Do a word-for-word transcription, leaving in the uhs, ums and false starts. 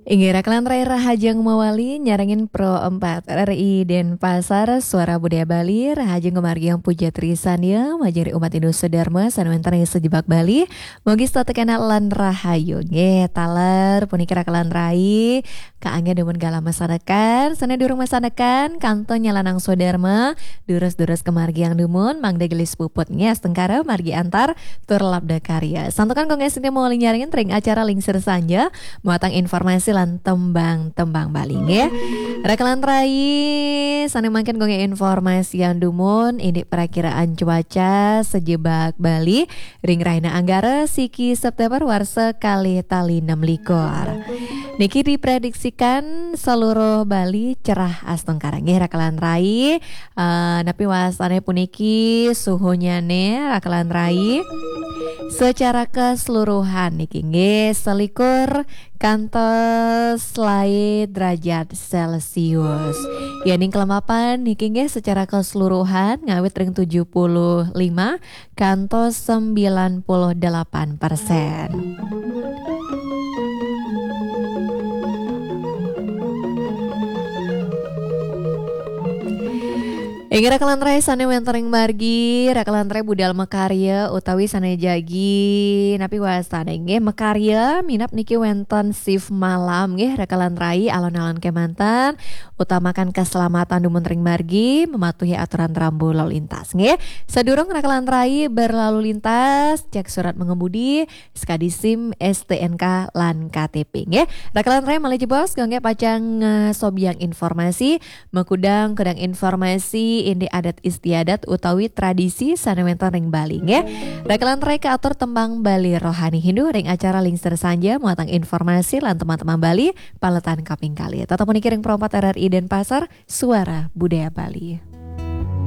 Inggih, rakelan rai, rahajeng mawali nyarengin Pro empat R R I Denpasar, Suara Budaya Bali. Rahajeng kumargi Puja Trisandya, majeng ring umat Hindu sadherma sane wenten ring sajebag Bali. Mugi setata kenak lan rahayu. Nggih, taler puniki rakelan rai, kaanggén dumun galah masandekan, sane durung masandekan, kantun nyalanang swadharma, durus-durus kumargi dumun, mangda gelis puput nggih astungkara, margi antar tur labda karya. Santukan kangge sida mawali nyarengin ring acara Lingsir Sanja, muatang informasi lan tembang-tembang Bali nggih. Rakelan rai, sane mangkin kangge informasi dumun, indik prakiraan cuaca sajebag Bali ring rahina Anggara siki September warsa kalih tali nem likur. Niki diprediksikan seluruh Bali cerah astungkara nggih rakelan rai. Eh, napi wastane puniki suhunyane rakelan rai? Secara keseluruhan niki nggih selikur kantos selae derajat Celcius. Yening kelemapan niki nggih secara keseluruhan ngawit ring tujuh puluh lima kantos sembilan puluh delapan persen. Inggih rakelan rai sane wenten ring margi, rakelan rai budal makarya utawi sane jagi napi wastane nggih makarya minab niki wenten shift malam nggih rakelan rai, alon-alon kemanten utamakan keselamatan dumun ring margi, mematuhi aturan rambu lalu lintas nggih. Sadurung rakelan rai berlalu lintas, cek surat mengemudi, sekadi SIM, STNK lan KTP nggih. Rakelan rai malih jebos kangge pacang ngasobiang informasi, makudang-kudang informasi indik adat istiadat utawi tradisi sane wenten ring Bali nggih. Rakelan rai kaatur tembang Bali Rohani Hindu ring acara Lingsir Sanja muatang informasi lan tembang-tembang Bali paletan kaping kalih. Tetep puniki ring Pro empat R R I Denpasar, Suara Budaya Bali.